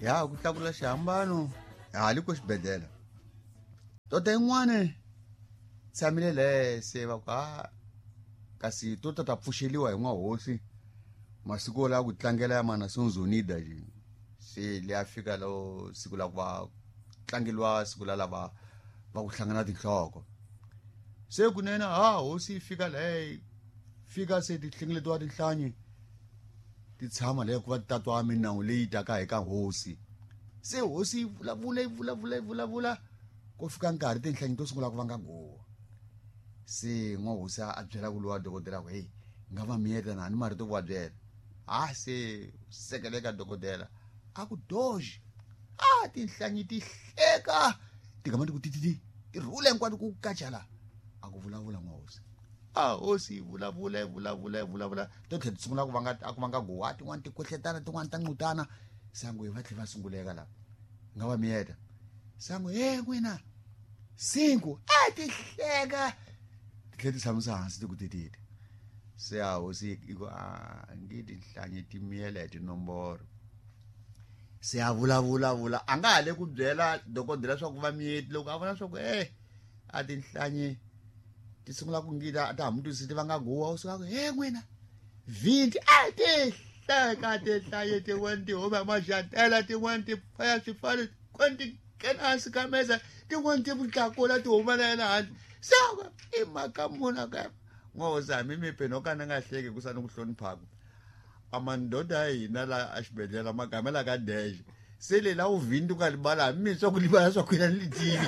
Ya ku tlakula xihambano hali ko xibedhlele. Tota yin'wana tshamile le se va ku a kasi to ta ta pfuxeliwa hi n'wahosi masiku la ku tlangela ya mana sonzonida je se le a fika lo siku la ku va tlangeliwa siku la lava va ku hlangana tinhloko. Se kunene ha hosi yi fika le fika se ti hlengeletiwa tinhlanyi ti tshama le ku va ti tatwa minawu leyi taka hi ka hosi. Se hosi yi vulavula yi vulavula yi vulavula ko fika nkarhi tinhlanyi to sungula ku vanga guwa. Se n'wahosi a byela ku lowa dokodela ku hey nga va miyeta na ni marito ku va byela. Ha se sekeleka dokodela a ku doji a tinhlanyi ti hleka ti gama ti ku tititi ti rhula hinkwato ku kachala a ku vulavula n'wahosi. A hosi yi vulavula yi vulavula yi vulavula to tlhela ti sungula ku vanga a ku vanga guwa tin'wani ti kwehletana tin'wani ta nqutana sangu hi va tlhela va sunguleka la nga va miyeta sangu he n'wina cinco a ti hleka ti tlhela ti tshamisa hansi ti ku tititi. Se a hosi yi ku a nge tinhlanyi ti miyela hi tinomboro. Se a vulavula vula a nga ha le ku byela dokodela swa ku va miyeti loko a vona swa ku a tinhlanyi ti sungula ku ngita ta ha mutwisisi ti vanga guwa u suka ku he n'wina 20 a ti hleka tinhlanyi tin'wani ti huma maxatela tin'wani ti faya swifalo tin'wani ti nghena hansi ka mesa tin'wani ti tlakula ti huma na yena handle. Se i mhaka muna ka n'wahosi hambi mi no ka ni nga hleki ku sa ni ku hloniphaku a mandoda ya hina la a xibedhlele magamela ka dash se le la u vhindi u nga libala hambi mi swa ku libala swa ku yena ni li tivi.